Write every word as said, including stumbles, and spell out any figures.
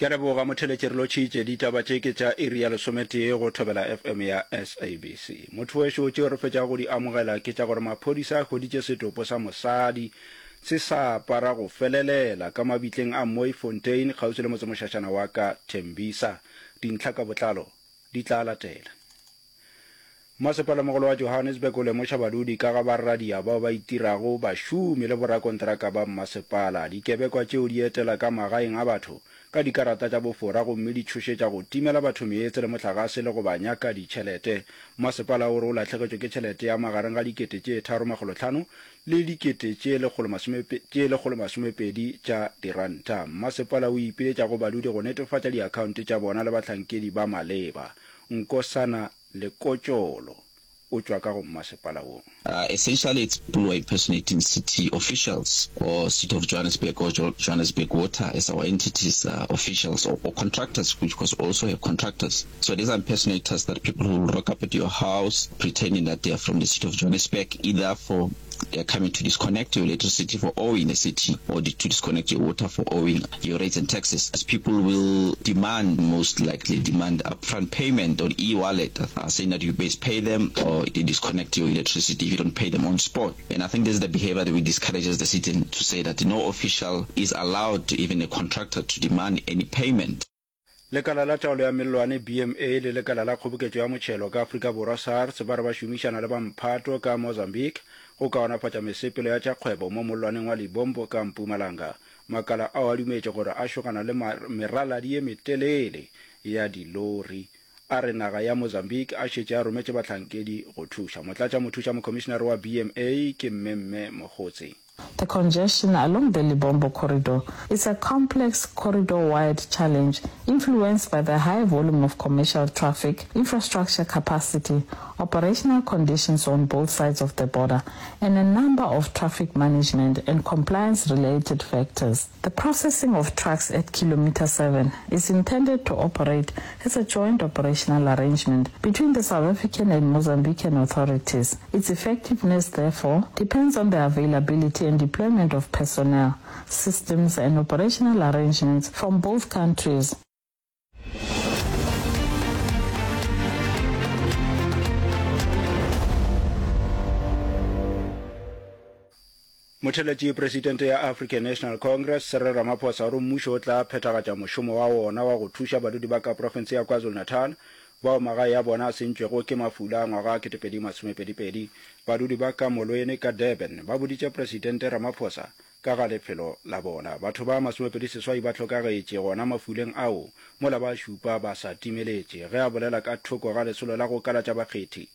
Ke a leboga motheletši re lotšhitše. Ditaba tše ke tša iri ya lesometee go Thobela FM ya SABC. Motho wešo tšeo re fetšago go di amogela ke tša gore maphodisa a hweditše setopo sa mosadi se sa apara go felelela ka mabitleng a Mooifontein kgauswi le motsemošašana wa ka Tembisa. Dintlha ka botlalo di tla latela. Mmasepalamogolo wa Johannesburg o lemoša badudi ka ga baradia bao ba itirago bašomi le borakontraka ba mmasepala. Dikebekwa tšeo di etela ka magaeng a batho ka dikarata tša bofora gomme di tšhošetša go timela batho meetse le mohlagase le go ba nyaka ditšhelete. Mmasepala o re o lahlegetšwe ke tšhelete ya magareng ga dikete tše tharo makgolo hlano le dikete tše lekgolo masome tše lekgolo masomepedi tša diranta. Mmasepala o ipiletša go badudi go netefatša diakhaonte tša bona le bahlankedi ba maleba. Nkosana Lekotšolo o tšwa ka go mmasepala wo. Uh, essentially, it's people who are impersonating city officials or City of Johannesburg or jo- Johannesburg Water as our entities, uh, officials or, or contractors, which because also have contractors. So these are impersonators that people who will rock up at your house pretending that they are from the City of Johannesburg, either for they are coming to disconnect your electricity for owing the city or to disconnect your water for owing your rates and taxes. As people will demand, most likely demand upfront payment on e-wallet, uh, saying that you best pay them or they disconnect your electricity if you don't pay them on spot. And I think this is the behavior that we discourage as the city to say that no official is allowed, even a contractor, to demand any payment. Lekala la Taolo ya Mellwane, B M A, le Lekala la Kgoboketšo ya Motšhelo ka Afrika Borwa, SARS, ba re ba šomišana le ba mphato ka Mozambique go kaonafatša mesepelo ya tša kgwebo mo mollwaneng wa Lebombo ka Mpumalanga. Makala ao a dumetše gore a šogana le meraladi ye metelele ya dilori. A re naga ya Mozambique a šetše a rometše bahlankedi go thuša. Motlatšamothušamokhomišenare wa B M A ke Mmemme Mogotsi. The congestion along the Lebombo corridor is a complex corridor-wide challenge influenced by the high volume of commercial traffic, infrastructure capacity, operational conditions on both sides of the border, and a number of traffic management and compliance-related factors. The processing of trucks at kilometer seven is intended to operate as a joint operational arrangement between the South African and Mozambican authorities. Its effectiveness, therefore, depends on the availability and deployment of personnel, systems and operational arrangements from both countries. Motheeletši Presidente ya African National Congress, Cyril Ramaphosa o re mmušo o tla phethagatša mošomo wa wona wa go thuša badudi ba ka profense ya KwaZulu-Natal bao magae a bona a sentšwego ke mafula a ngwaga wa ketepedi masomepedi pedi. Badudi ba ka Molweni ka Durban ba boditše Presidente Ramaphosa ka ga lefelo la bona. Batho ba masomepedi seswai ba hlokagetše gona mafuleng ao mola ba šupa ba sa timeletše. Ge a bolela ka thoko ga lesolo la go kalatša bakgethi,